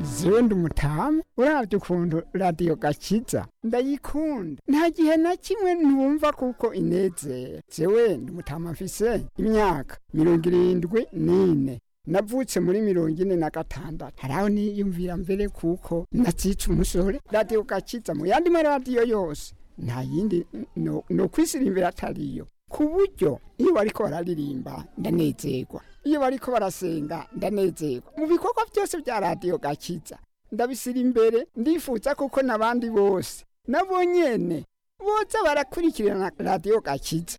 Zewe umutamu urabye ukuntu radiyo gakiza ndayikunda, nta gihe na kimwe ntumva kuko inezera. Zewe umutamu mfise imyaka 74, navutse muri 46. Haraho niyumvira mbere kuko natsica umusore. Radiyo gakiza mu yandi maradiyo yose nta yindi no kwisirimbira atariyo, ku buryo iyo bariko bararirimba ndanezerwa, iyo bariko barasenga ndanezerwa. Mu bikorwa byose bya radiyo gakiza ndabisira imbere, ndifuza kuko n'abandi bose nabo nyene boza barakurikirana radiyo gakiza.